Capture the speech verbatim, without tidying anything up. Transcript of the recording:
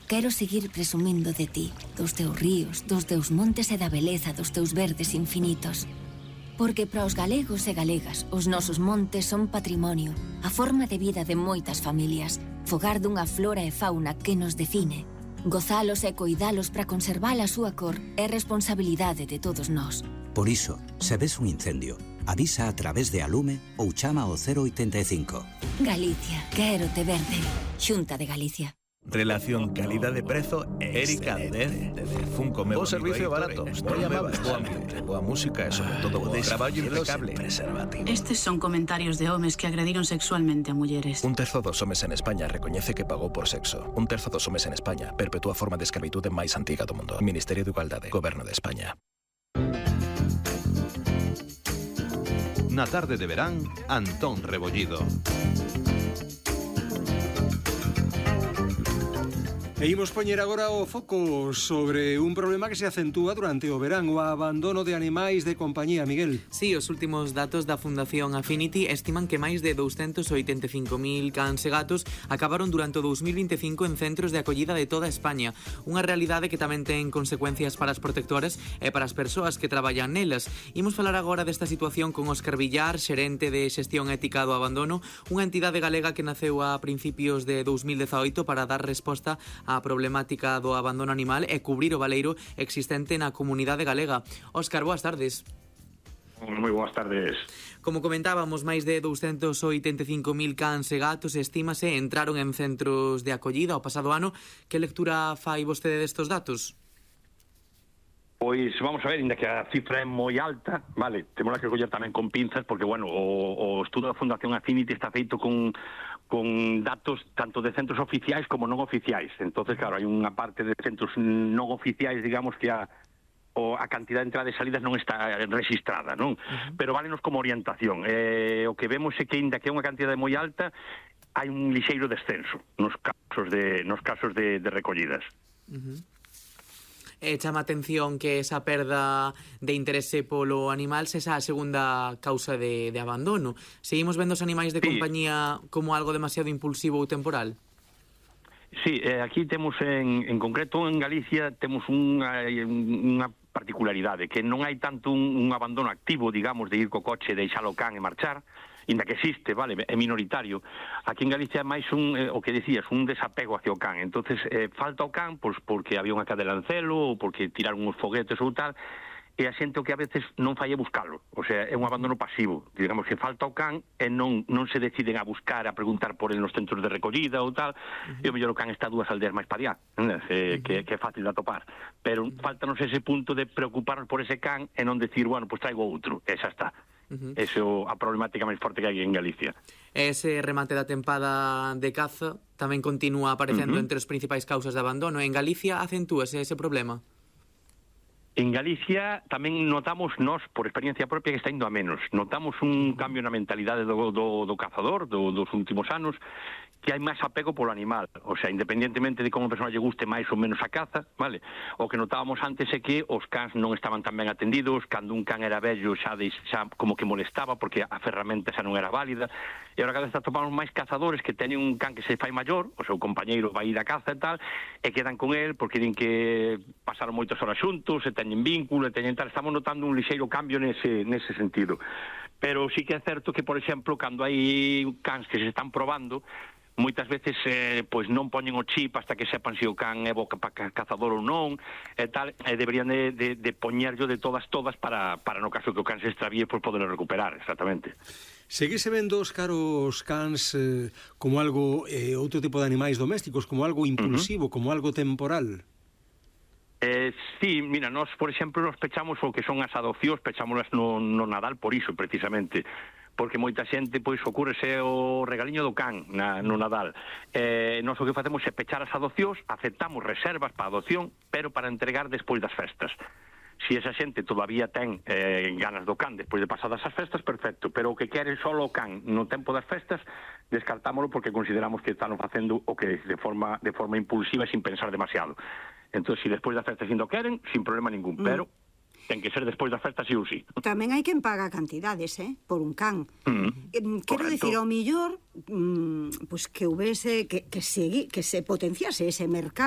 quero seguir presumindo de ti, dos teus ríos, dos teus montes e da beleza dos teus verdes infinitos. Porque para os galegos e galegas, os nosos montes son patrimonio, a forma de vida de moitas familias, fogar dunha flora e fauna que nos define. Gozalos e coidalos para conservar a súa cor é responsabilidade de todos nós. Por iso, se ves un incendio, avisa a través de Alume ou chama ao cero oitenta e cinco. Galicia, quérote verde. Xunta de Galicia. Relación calidade-prezo Erika dez de Funko Meu. O servicio barato, moi amable, boa ambiente, boa música e sobre todo bo traballo impecable. Estes son comentarios de homes que agrediron sexualmente a mulleres. Un terzo dos homes en España recoñece que pagou por sexo. Un terzo dos homes en España perpetúa a forma de escravitude máis antiga do mundo. Ministerio de Igualdade, Goberno de España. Na tarde de verán, Antón Rebollido. E imos poñer agora o foco sobre un problema que se acentúa durante o verán, o abandono de animais de compañía, Miguel. Sí, os últimos datos da Fundación Affinity estiman que máis de douscentos oitenta e cinco mil cans e gatos acabaron durante o dous mil vinte e cinco en centros de acollida de toda España. Unha realidade que tamén ten consecuencias para as protectoras e para as persoas que traballan nelas. Imos falar agora desta situación con Óscar Villar, xerente de xestión ética do abandono, unha entidade galega que naceu a principios de dous mil dezaoito para dar resposta a problemática do abandono animal e cubrir o baleiro existente na comunidade galega. Óscar, boas tardes. Moi boas tardes. Como comentábamos, máis de douscentos oitenta e cinco mil cans e gatos, estímase, entraron en centros de acollida o pasado ano. Que lectura fai vostede destos datos? Pois vamos a ver, inda que a cifra é moi alta, vale, temos que coller tamén con pinzas, porque, bueno, o, o estudo da Fundación Affinity está feito con con datos tanto de centros oficiais como non oficiais. Entonces, claro, hai unha parte de centros non oficiais, digamos, que a, o, a cantidad de entradas e salidas non está registrada, non? Uh-huh. Pero válenos como orientación. Eh, o que vemos é que, inda que é unha cantidade moi alta, hai un lixeiro descenso nos casos de, nos casos de, de recollidas. Uh-huh. E chama atención que esa perda de interese polo animal se esa a segunda causa de, de abandono. Seguimos vendo os animais de sí. compañía como algo demasiado impulsivo ou temporal? Sí, eh, aquí temos en, en concreto en Galicia temos unha, unha particularidade, que non hai tanto un, un abandono activo, digamos, de ir co coche, deixalo o can e marchar, inda que existe, vale, é minoritario. Aquí en Galicia é máis un, eh, o que decías, un desapego hacia o can. Entonces eh, falta o can, pois porque había unha cadela en celo, ou porque tiraron uns foguetes ou tal, e a xente o que a veces non fai é buscalo. O sea, é un abandono pasivo. Digamos que falta o can e non non se deciden a buscar, a preguntar por el nos centros de recollida ou tal, uh-huh. e o mellor o can está dúas aldeas máis para allá, eh, uh-huh. que, que é fácil de atopar. Pero uh-huh. faltanos ese punto de preocuparnos por ese can e non decir, bueno, pois pues traigo outro, e xa está. Uh-huh. Esa é a problemática máis forte que hai en Galicia. Ese remate da tempada de caza tamén continúa aparecendo uh-huh. entre as principais causas de abandono. En Galicia acentúase ese problema? En Galicia tamén notamos nós, por experiencia propia, que está indo a menos. Notamos un cambio na mentalidade do, do, do cazador do, dos últimos anos, que hai máis apego polo animal. O sea, independientemente de como a persona lle guste máis ou menos a caza, vale? O que notábamos antes é que os cans non estaban tan ben atendidos, cando un can era vello xa, de, xa como que molestaba porque a ferramenta xa non era válida, e agora cada vez atopamos máis cazadores que teñen un can que se fai maior, o seu compañeiro vai ir a caza e tal, e quedan con el porque din que pasaron moitas horas xuntos, e teñen vínculo, e teñen tal. Estamos notando un lixeiro cambio nese, nese sentido. Pero sí que é certo que, por exemplo, cando hai cans que se están probando, moitas veces eh, pois non poñen o chip hasta que sepan se o can é bo cazador ou non, e tal, e deberían de, de, de poñerlo de todas todas para, para no caso que o can se extravíe, pois poderlo recuperar, exactamente. Seguise vendo os caros cans eh, como algo, eh, outro tipo de animais domésticos, como algo impulsivo, uh-huh. como algo temporal? Eh, sí, mira, nós, por exemplo, nos pechamos o que son as adopcións, pechámolas no, no Nadal por iso, precisamente, porque moita xente, pois, ocurrese o regaliño do can na, no Nadal. Eh, nós o que facemos é pechar as adopcións, aceptamos reservas para adopción, pero para entregar despois das festas. Si esa xente todavía ten eh, ganas do can despois de pasadas as festas, perfecto, pero o que quere só o can no tempo das festas, descartámoslo porque consideramos que están facendo o que de forma, de forma impulsiva e sin pensar demasiado. Entón, si despois das festas indo queren, sin problema ningún, mm. pero ten que ser despois das festas sí ou sí. Tamén hai quen paga cantidades, eh, por un can. Mm. Quero dicir, ao millor, mm, pues que houvese, que, que, segui, que se potenciase ese mercado